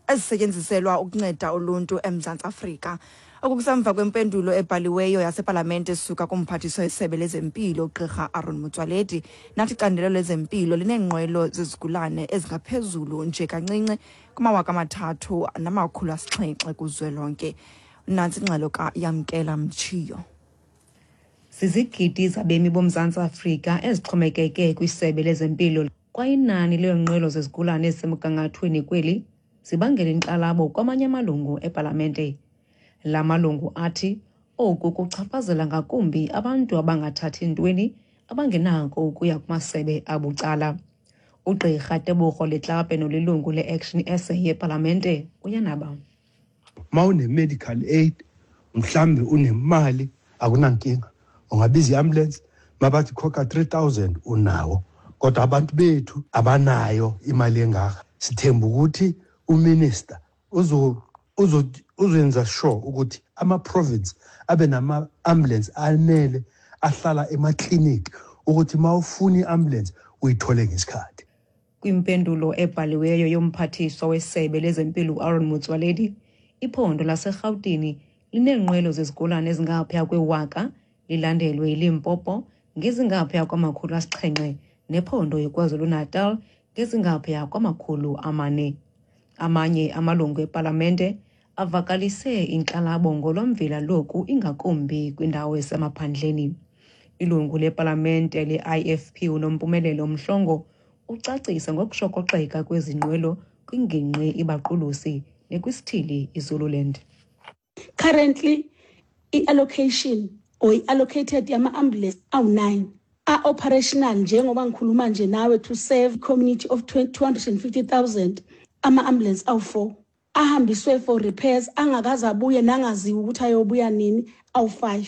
ezisetyenziselwa ukunceda uluntu eMzantsi Afrika. Oku kusemva kwempendulo ebhaliweyo yasepalamente esuka kumphathiswa wesebe lezempilo uGqirha Aaron Motsoaledi nathi icandelo lezempilo lineenqwelo zezigulane ezingaphezulu nje kancinci kumawaka 3700 kuzwelonke. Nantsi ingxelo kaYamkela Mtshiyo. Zizigidi zabemi boMzantsi Afrika ezixhomekeke kwisebe lezempilo kwaye inani leenqwelo zezigulane ezisemgangathweni kweli zibangela inkxalabo kwamanye amalungu epalamente. La malungu athi oku kuchaphazela ngakumbi abantu abangathathi ntweni abangenako ukuya kumasebe abucala. Ugqirha Tebogo Letlape nolilungu le-Action SA yepalamente uyanaba. Uma une-medical aid mhlambe unemali akunankinga, ungabiza i-ambulance mabathi khokha 3000 unawo, kodwa abantu bethu abanayo imali engaka. Sithemba ukuthi uminister uzoyenza sure ukuthi ama-province abe nama-ambulance anele ahlala emakliniki ukuthi uma ufuna i-ambulance uyithole ngesikhathi. Kwimpendulo ebhaliweyo yomphathiswa wesebe lezempilo uAaron Motsoaledi, iphondo laseRhawutini lineenqwelo zezigulane ezingaphaya kwewaka, lilandelwe yiLimpopo ngezingaphaya kwama-700 nephondo iKwaZulu-Natal ngezingaphaya kwama-400. Amanye amalungu epalamente avakalise inkxalabo ngolwamvila loku ingakumbi kwindawo esemaphandleni. Ilungu lepalamente le-IFP uNompumelelo Mhlongo ucacisa ngokushokoxeka kwezi nqwelo kwingingqi iBaqulusi nekwisithili iZululand. Currently, i-allocation or i-allocated yama-ambulance awu-9 a-operational njengoba ngikhuluma nje nawe to serve community of 250,000. Ama-ambulance awu-4 ahambiswe for repairs angakaze abuye nangaziwa ukuthi ayobuya nini awu-5.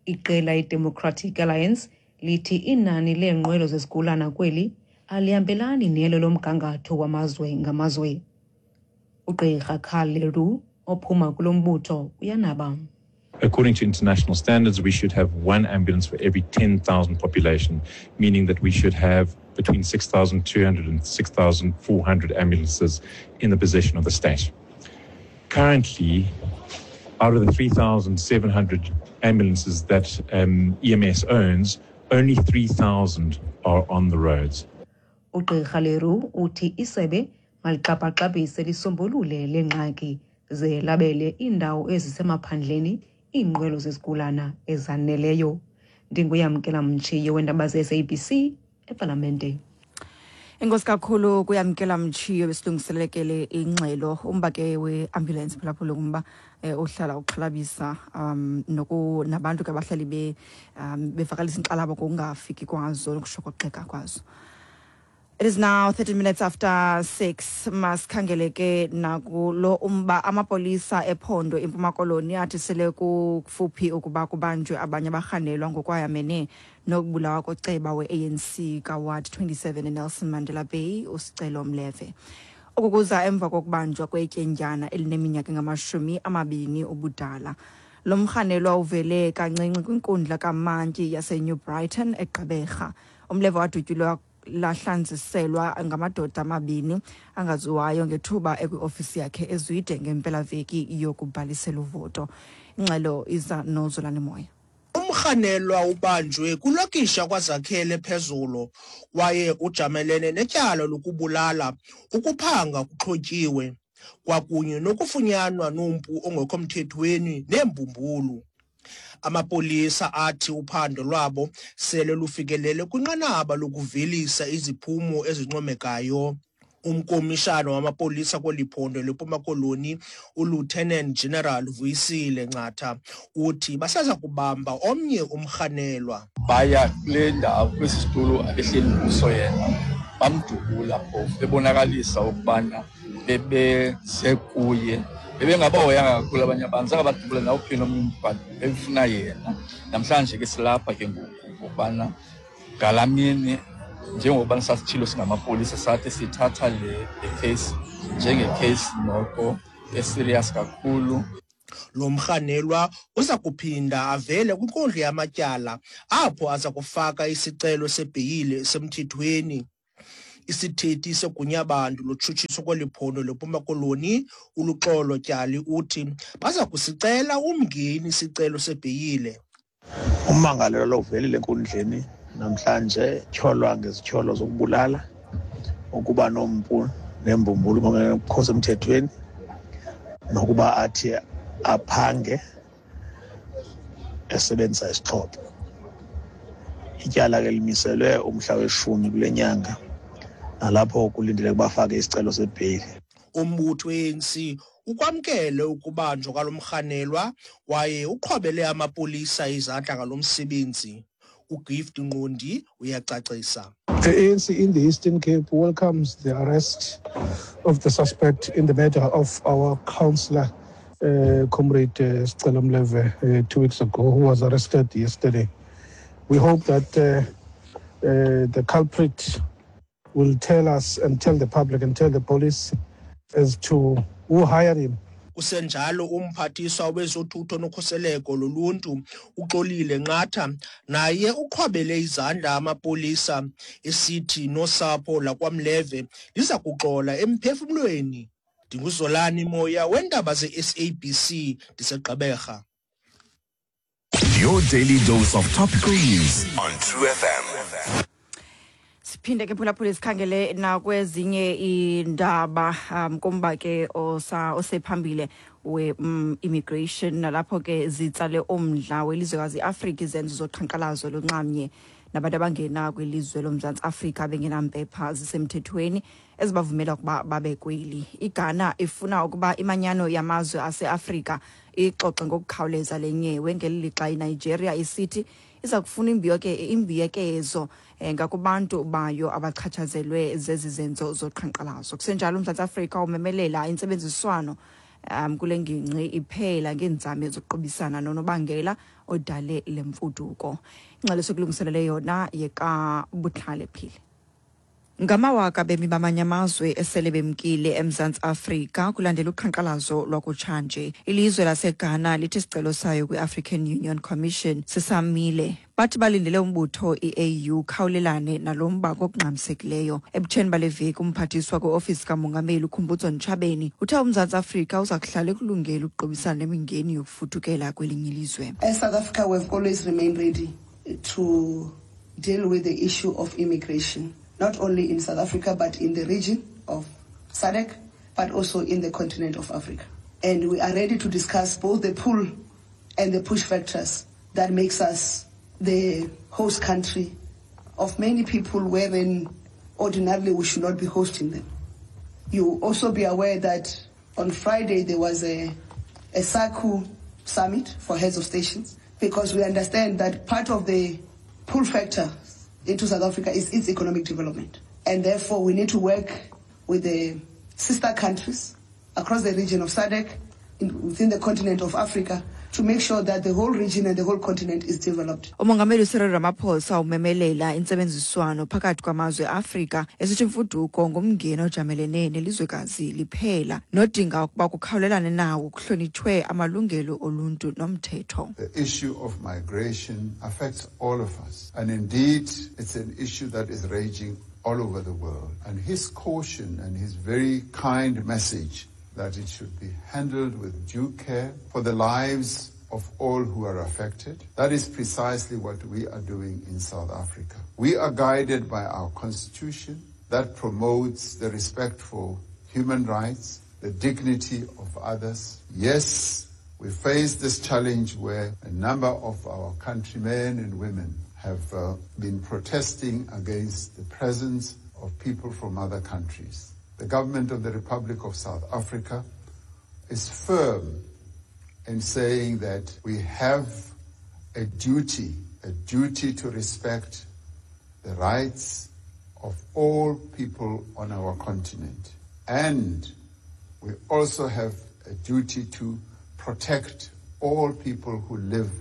Iqela iDemocratic Alliance lithi inani leenqwelo zezigulana kweli alihambelani nelo lomgangatho wamazwe ngamazwe. Ugqirha Carl Leroux ophuma kulo mbutho uyanaba. According to international standards, we should have one ambulance for every 10,000 population, meaning that we should have between 6,200 and 6,400 ambulances in the possession of the state. Currently, out of the 3,700 ambulances that EMS owns, only 3,000 are on the roads. Ugqirha Leroux uthi isebe malixapaxapise lisombulule le ngxaki ze labele iindawo ezisemaphandleni iinqwelo zezigulana ezaneleyo. Ndinguyamkela Mtshiyo weendaba ze-SABC epalamente. Enkosi kakhulu kuyamkela Mtshiyo besilungiselekele ingxelo. Umba ke we-ambulance phulaphula ngumba ohlala uxhalabisa noku nabantu ke abahlali bevakalisa inkxalabo ngokungafiki kwazo nokushokoxeka kwazo. It is now 30 minutes after 6. Masikhangele ke nakulo umba. Amapolisa ephondo iMpuma Koloni athi sele kufuphi ukuba kubanjwe abanye abarhanelwa ngokwayamene nokubulawa koceba we-ANC kaWard 27 eNelson Mandela Bay uSicelo Mleve. Oku kuza emva kokubanjwa kwetyendyana elineminyaka engama-20 ubudala. Lo mrhanelwa uvele kancinci kwinkundla kamantyi yaseNew Brighton eGqeberha. Umleve wadutyulwa lahlanziselwa ngamadoda amabini angaziwayo ngethuba ekwiofisi yakhe eZwide ngempelaveki yokubhalisela uvoto. Ingxelo iza noZolani Moya. Umrhanelwa ubanjwe kwilokisha kwaZakhele phezulu kwaye ujamelene netyala lokubulala, ukuphanga kuxhotyiwe kwakunye nokufunyanwa nompu ongekho mthethweni neembumbulu. Amapolisa athi uphando lwabo sele lufikelele kwinqanaba lokuvelisa iziphumo ezincomekayo. Umkomishana wamapolisa kweli phondo leMpuma Koloni uLieutenant General Vuyisile Ncatha uthi basaza kubamba omnye umrhanelwa. Baya kule ndawo kwesi situlo abehleli kuso yena, bamdubula phofu bebonakalisa ukubana bebeze kuye, bebengabahoyanga kakhulu abanye abantu, zange badubula nawuphi nomnye umntu, but bebefuna yena. Namhlanje ke silapha ke ngoku ngokubana ngalaa mini njengokuba sasitshilo singamapolisa sathi sithatha le case njenge-case noko eserious kakhulu. Lo mrhanelwa uza kuphinda avele kwinkundla yamatyala apho aza kufaka isicelo sebheyile esemthethweni. Isithethi seGunyabantu loTshutshiso kweli phondo leMpuma Koloni, uLuxolo Tyali, uthi baza kusicela umngeni isicelo sebheyile. Ummangalelwa lo uvelile enkundleni namhlanje, tyholwa ngezityholo zokubulala, ukuba nompu nembumbulu ngokungekho semthethweni, nokuba athi aphange esebenzisa isixhobo. Ityala ke limiselwe umhla we-10 kule nyanga, nalapho kulindeleke bafake isicelo sebheyile. Umbutho we-ANC ukwamkele ukubanjwa kwalo mrhanelwa kwaye uqhwabele amapolisa izandla ngalo msebenzi. UGift Nqondi uyacacisa. The ANC in the Eastern Cape welcomes the arrest of the suspect in the murder of our councillor, Comrade Sicelo Mleve, 2 weeks ago, who was arrested yesterday. We hope that the culprit will tell us and tell the public and tell the police as to who hired him. Kusenjalo, umphathiswa wezothutho nokhuseleko loluntu, uXolile Nqatha, naye uqhwabele izandla amapolisa, esithi nosapho lakwaMleve liza kuxola emphefumlweni. NdinguZolani Moya wendaba ze-SABC, ndiseGqeberha. Your daily dose of topical news on True FM. Siphinde ke, phulaphula, sikhangele nakwezinye iindaba, kumba ke osephambili we-immigration, nalapho ke zitsale umdla welizwekazi iAfrika izenzo zoqhankqalazo lunxamnye nabantu abangena kwilizwe loMzantsi Afrika bengenampepha zisemthethweni ezibavumela ukuba babe kweli. IGhana ifuna ukuba imanyano yamazwe aseAfrika ixoxe ngokukhawuleza le nyewe, ngeli lixa iNigeria isithi iza kufuna imbuyekezo ngakubantu bayo abachatshazelwe zezi zenzo zoqhankqalazo. Kusenjalo, uMzantsi Afrika umemelela intsebenziswano kule ngingqi iphela ngeenzame zokuqubisana nonobangela odale le mfuduko. Ingxelo sokulungiselele yona yekaButlale Phile. Ngamawaka bemi bamanye amazwe esele bemkile eMzantsi Afrika kulandela uqhankqalazo lwakutshanje. Ilizwe laseGhana lithi isicelo sayo kwi-African Union Commission sisamile. Bathi balindele umbutho i-AU khawulelane nalo mba ngokungxamisekileyo. Ebutsheni bale veki, umphathiswa kwiofisi kamongameli uKhumbudzo Ntshavheni uthe uMzantsi Afrika uza kuhlala ekulungele ukuqubisana nemingeni yokufudukela kwelinye ilizwe. As South Africa, we've always remained ready to deal with the issue of immigration, not only in South Africa, but in the region of SADC, but also in the continent of Africa. And we are ready to discuss both the pull and the push factors that makes us the host country of many people wherein ordinarily we should not be hosting them. You also be aware that on Friday there was a SACU summit for heads of stations, because we understand that part of the pull factor into South Africa is its economic development. And therefore we need to work with the sister countries across the region of SADC, within the continent of Africa, to make sure that the whole region and the whole continent is developed. Umongameli uCyril Ramaphosa umemelela intsebenziswano phakathi kwamazwe eAfrika, esithi imfuduko ngumngeni ojamelene nelizwekazi liphela nodinga ukuba kukhawulelane nawo kuhlonitshwe amalungelo oluntu nomthetho. The issue of migration affects all of us. And indeed, it's an issue that is raging all over the world. And his caution and his very kind message that it should be handled with due care for the lives of all who are affected. That is precisely what we are doing in South Africa. We are guided by our constitution that promotes the respect for human rights, the dignity of others. Yes, we face this challenge where a number of our countrymen and women have been protesting against the presence of people from other countries. The government of the Republic of South Africa is firm in saying that we have a duty to respect the rights of all people on our continent. And we also have a duty to protect all people who live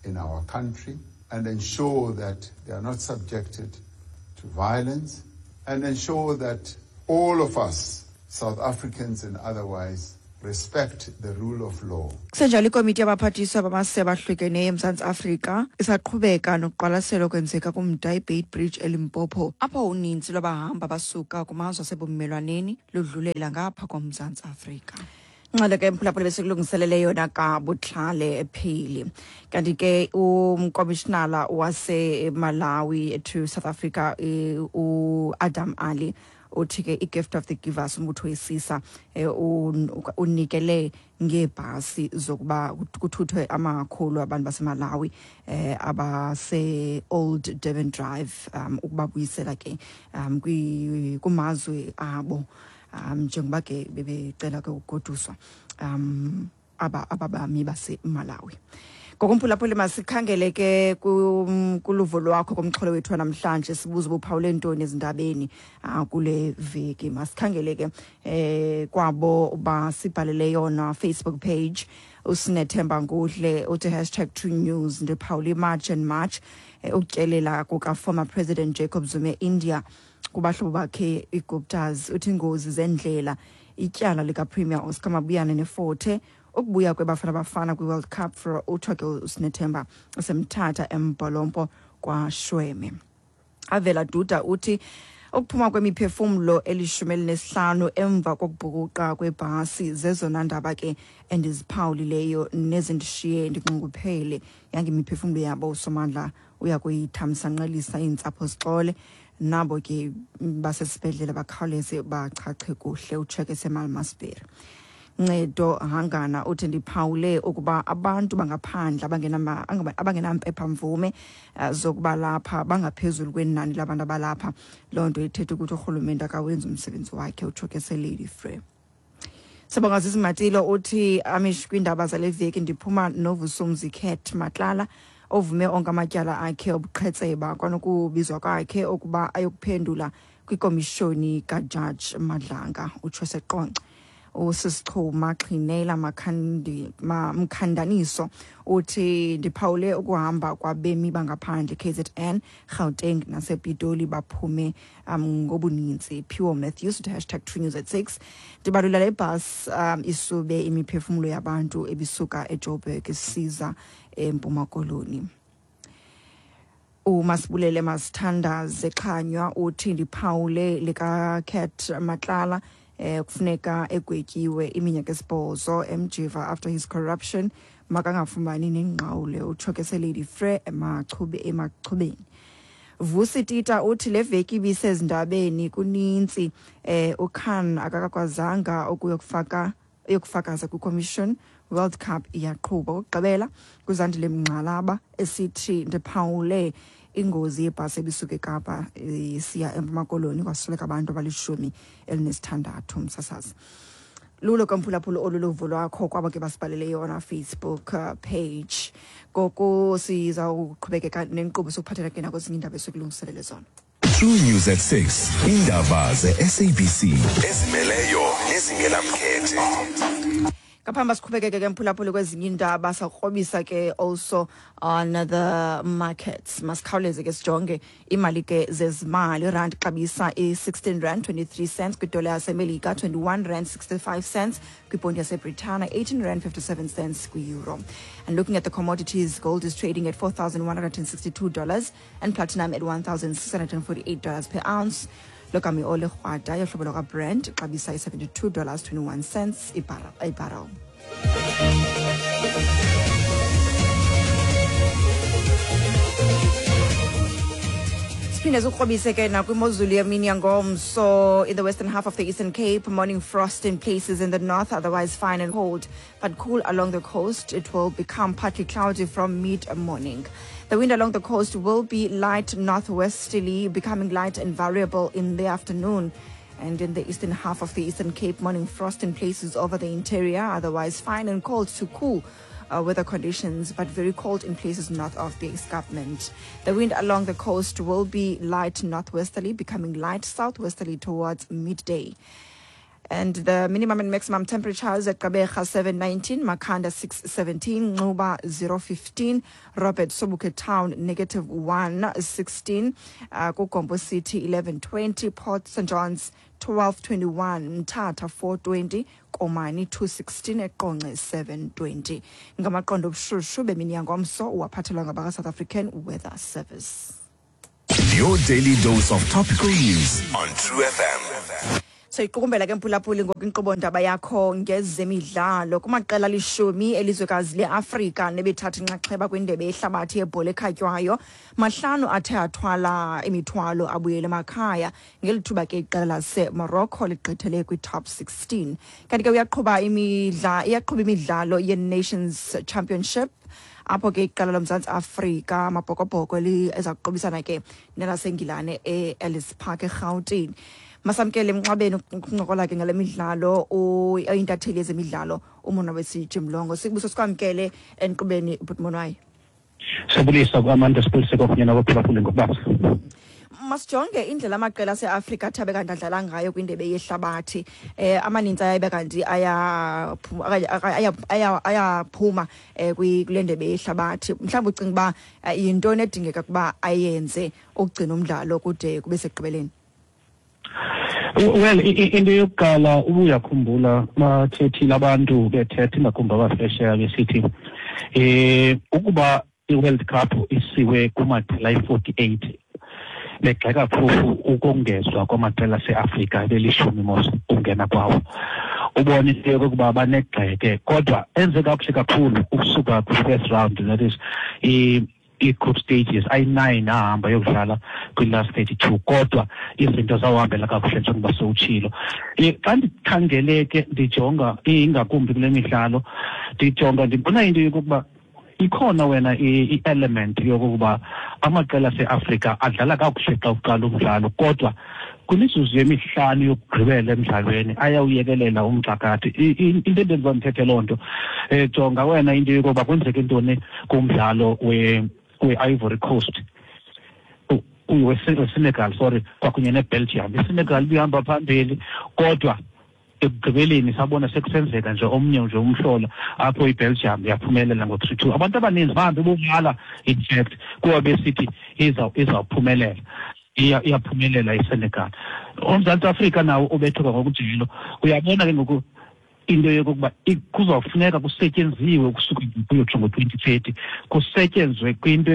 in our country and ensure that they are not subjected to violence, and ensure that all of us, South Africans and otherwise, respect the rule of law. Kusenjalo, ikomiti yabaphathiswa bamasebe ahlukeneyo eMzantsi Afrika isaqhubeka nokuqwalasela okwenzeka kumda iBeitbridge eLimpopo, apho uninzi lwabahamba basuka kumazwe asebumelwaneni ludlulela ngapha koMzantsi Afrika. Ngxelo ke, mphulaphula, besikulungiselele yona kaButlale Phili. Kanti ke umkomishinala waseMalawi to South Africa, uAdam Ali, uthi ke i-Gift of the Givers, umbutho wesisa, unikele ngeebhasi zokuba kuthuthwe amakhulu abantu baseMalawi abase-Old Durban Drive, ukubabuyisela ke kumazwe abo, njengoba ke bebecela ke ukugoduswa aba ababami baseMalawi. Ngokumphulaphuli, masikhangele ke kuluvo lwakho kumxholo wethu wanamhlanje. Sibuza ubuphawule ntoni ezindabeni kule veki. Masikhangele ke kwabo basibhalele yona Facebook page. USinethemba Ngudle uthi #TrueNews, ndiphawule iMarch and March, ukutyelela kuka-former President Jacob Zuma eIndia kubahlobo bakhe iGuptas. Uthi ingozi zendlela, ityala likaPremier Oscar Mabuyane neForte, ukubuya kweBafana Bafana kwi-World Cup for uthiwa ke uSinethemba useMthatha eMbholompo kwaShweme. Avela Duda uthi ukuphuma kwemiphefumlo eli-15 emva kokubhukuqa kwebhasi zezona ndaba ke endiziphawulileyo nezindishiye ndinxunguphele. Yangemiphefumlo yabo uSomandla uya kuyithamsanqelisa, iintsapho zixole, nabo ke basesibhedlele bakhawuleze bachache kuhle. Utsheke seMalmasbury. Ncedo Hangana uthi ndiphawule ukuba abantu bangaphandle abangenampepha mvume zokuba lapha bangaphezulu kwenani labantu abalapha. Loo nto ithetha ukuthi urhulumente akawenzi umsebenzi wakhe. Utsho ke seLady Frere. Sibonga Zizimatilo uthi amish, kwiindaba zale veki ndiphuma noVusumzi Cat Matlala ovume onke amatyala akhe obuqhetseba, kwanokubizwa kwakhe ukuba ayokuphendula kwikomishoni kaJaji Madlanga. Utsho seQonce. USisichuma Xhinela Mkhandaniso uthi ndiphawule ukuhamba kwabemi bangaphandle KZN, Gauteng nasePitoli, baphume ngobuninzi. Pure Matthews uthi #TrueNews at 6, ndibalula le bus isube imiphefumlo yabantu ebisuka eJoburg isiza eMpuma Koloni. UMasibulele Masithandaze Xhanywa uthi ndiphawule lika Cat Matlala, kufuneka egwetyiwe iminyaka 8 emjiva after his corruption, makangafumani nengqawule. Utsho ke seLady Frere eMachube eMachubeni. Vusi Tita uthi le veki ibisezindabeni kunintsi, uKhan akakakwazanga ukuyokufaka uyokufakaza kwi-commission, World Cup iyaqhuba. Okugqibela kuZandile Mngxalaba esithi ndiphawule ingozi yebhasi ebisuka eKapa isiya eMpuma Koloni, kwasweleka abantu abali-16. Msasazi lulo kamphulaphula, olu luvo lwakho kwabo ke basibhalele yona Facebook page. Ngoku siza ukuqhubekeka nenkqubo, sokuphathela ke nakwezinye iindaba esikulungiselele zona. True News at 6. Indaba ze-SABC ezimeleyo nezingenamkhethe. Ngaphambi siqhubekeke ke mphulaphuli kwezinye iindaba, sakrobisa ke also on the markets. Masikhawuleze ke sijonge imali ke zezimali. Irandi xabisa i-16 rand 23 cents kwidola yaseMelika, 21 rand 65 cents kwiponti yaseBritana, 18 rand 57 cents kwi-euro. And looking at the commodities, gold is trading at $4,162 and platinum at $1,648 per ounce. Lokami ole krwada yohlobo lwakwaBrent xabisa i-$72 21 cents ibarrel. Siphinde sikrobise ke nakwimozulu yemini yangomso. In the western half of the Eastern Cape, morning frost in places in the north, otherwise fine and cold, but cool along the coast. It will become partly cloudy from mid-morning. The wind along the coast will be light northwesterly, becoming light and variable in the afternoon. And in the eastern half of the Eastern Cape, morning frost in places over the interior, otherwise fine and cold to cool weather conditions, but very cold in places north of the escarpment. The wind along the coast will be light northwesterly, becoming light southwesterly towards midday. And the minimum and maximum temperatures at Gqeberha 719, Makhanda 617, Nxuba 015, Robert Sobukwe Town -116, Kugompo City 1120, Port St. John's 1221, Mthatha 420, Komani 216, eQonce 720. Ngamaqondo obushushu bemini yangomso uwaphathelwa ngabaka-South African Weather Service. Your daily dose of topical news on True FM. Soyiqukumbela ke, mphulaphuli, ngoku inkqubo ndaba yakho ngezemidlalo. Kumaqela 10 elizwekazi leAfrika nebethatha inxaxheba kwindebe yehlabathi yebhola ekhatywayo, 5 athe athwala imithwalo abuyele emakhaya, ngeli thuba ke iqela laseMorocco ligqithele kwi-top 16. Kanti ke uyaqhuba imidla iyaqhuba imidlalo ye-Nations Championship, apho ke iqela loMzantsi Afrika, Amabhokobhoko, eza kuqubisana ke nelaseNgilane e-Ellis Park eRhawutini. Masamkele emnxabeni ukuncokola ke ngale midlalo oyintatheli yezemidlalo uMonwabisi Jimlongo. Sikubuso sikwamkele enkqubeni, bhuti Monwayi. Siyabulisa kuAmanda, sibulise kwakunye nabaphulaphuli ngokubanzi. Masijonge indlela amaqela aseAfrika athi abe kanti adlala ngayo kwindebe yehlabathi. Amaninzi ayabe kanti ayaphuma kule ndebe yehlabathi. Mhlawumbi ucinga uba yintoni edingeka ukuba ayenze ukugcina umdlalo kude kube sekugqibeleni? Well, into yokuqala, ubuyakhumbula bathethile abantu bethetha, ingakumbi abaphesheya, besithi ukuba i-World Cup isiwe kumaqela ayi-48, begxeka phofu ukongezwa kwamaqela aseAfrika belishumi mos ungena kwawo, ubone into yokokuba banegxeke, kodwa enze kakuhle kakhulu ukusuka kwi-first round, that is ii-group stages ayi-9 ahamba yokudlala kwi-last 32, kodwa izinto zawuhambela kakuhle njengoba sewutshilo. Xa ndikhangele ke, ndijonga ingakumbi kule midlalo, ndijonga ndibona into yokokuba ikhona wena i-element yokokuba amaqela aseAfrika adlala kakuhle xa uqala umdlalo, kodwa kwimizuzu yemihlanu yokugqibela emdlalweni ayawuyekelela umxakathi. Into endenza ndithethe loo nto, jonga wena into yokokuba kwenzeke ntoni kumdlalo we-Ivory Coast, weSenegal, sorry, kwakunye neBelgium. ISenegal ibihamba phambili, kodwa ekugqibeleni sabona sekusenzeka nje omnye nje umhlola apho iBelgium yaphumelela ngo-3-2. Abantu abaninzi bahambe bobala, in fact, kuba besithi izawuphumelela, iyaphumelela iSenegal. UMzantsi Afrika nawo ubethuka ngokujelo. Uyabona ke ngoku into yokokuba kuzawufuneka kusetyenziwe ukusuka kuyotsho ngo-2030, kusetyenzwe kwinto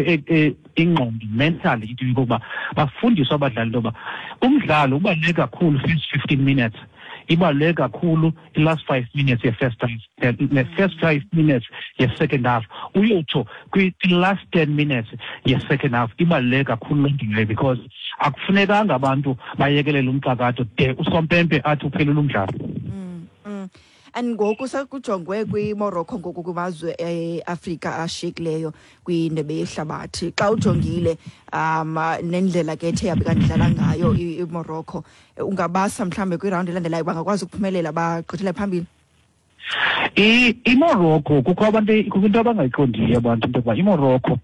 ingqondo, mentally, into yokokuba bafundiswe abadlali into yoba umdlalo ubaluleke kakhulu first 15 minutes, ibaluleke kakhulu i-last 5 minutes ye-first half, ne-first 5 minutes ye-second half, uyotsho kwi-last 10 minutes ye-second half. Ibaluleke kakhulu loo nto leyo, because akufunekanga abantu bayekelele umxakatho de usompempe athi uphelile umdlalo. And ngoku sekujongwe kwiMorocco ngoku kumazwe eAfrika ashiyekileyo kwindebe yehlabathi. Xa ujongile nendlela ke ethe yabe kanti idlala ngayo iMorocco, ungabasa mhlawumbe kwirawundi elandelayo bangakwazi ukuphumelela bagqithele phambili? IMorocco, kukho abantu, kukho into abangayiqondiyo abantu, into yokuba iMorocco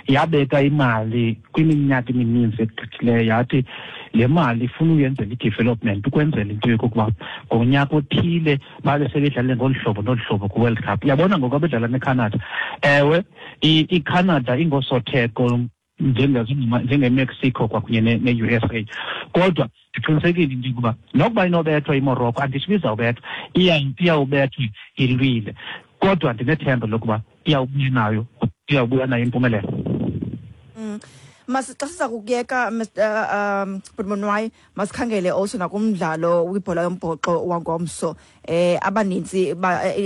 yabeka imali kwiminyaka emininzi egqithileyo, yathi le mali ifuna uyenzela i-development ukwenzela into yokokuba ngonyaka othile babe sebedlale ngolu hlobo nolu hlobo kwi-World Cup. Uyabona ngoku abedlala neCanada, ewe, iCanada ingosotheko njengeMexico kwakunye ne-USA, kodwa ndiqinisekile into yokuba nokuba inobethwa iMorocco, anditsho uba izawubethwa, iyawubethwa ilwile, kodwa ndinethemba lokuba iyawubuya nayo impumelelo. Mas xa siza kukuyeka, Mr Bhut' Monwayi, masikhangele also nakumdlalo wibhola yombhoxo wangomso. Abanintsi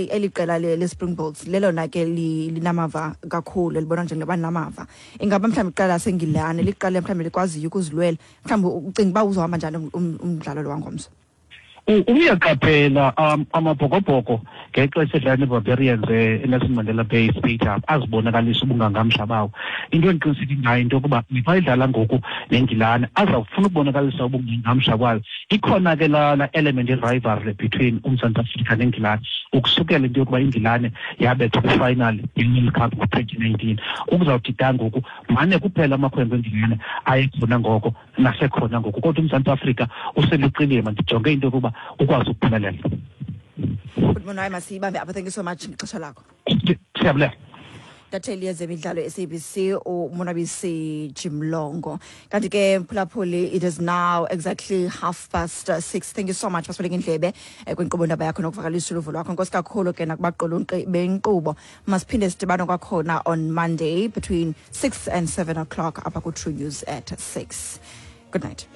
eli qela le-Springboks lelona ke linamava kakhulu, elibonwa njengabanamava. Ingaba mhlawumbi iqela laseNgilane liqela mhlawumbi likwaziyo ukuzilwela? Mhlawumbi ucinga uba uzohamba njani umdlalo lo wangomso? Uyaqaphela Amabhokobhoko ngexesha edlala neBarbarians eNelson Mandela Bay Stadium azibonakalisa ubungangamsha bawo. Into endiqiniseke ngayo into yokuba xa idlala ngoku neNgilane azawufuna ukubonakalisa ubungangamsha kwayo. Ikhona ke laa element ye-rivalry between uMzantsi Afrika neNgilane, ukusukela into yokuba iNgilane yabethwa kwifinal ye-World Cup ngo-2019 ukuzawuthi ga ngoku. Mane kuphela amakhwenkwe eNgilane ayekhona ngoko nasekhona ngoku, kodwa uMzantsi Afrika useluqilima. Ndijonge into yokuba ukwazi ukuphumelela. Bhut' Monwayi, masiyibambe apha. Thank you so much ngexesha lakho. Siyabulela. Intatheli yezemidlalo e-SABC uMonwabisi Jimlongo. Kanti ke mphulaphuli, it is now exactly 6:30. Thank you so much basibeleke indlebe kwinkqubo ndaba yakho nokuvakalisa uluvo lwakho. Nkosi kakhulu ke nakubaqulunqi benkqubo. Masiphinde sidibane kwakhona on Monday between 6 and 7 o'clock apha ku-True News at 6. Good night.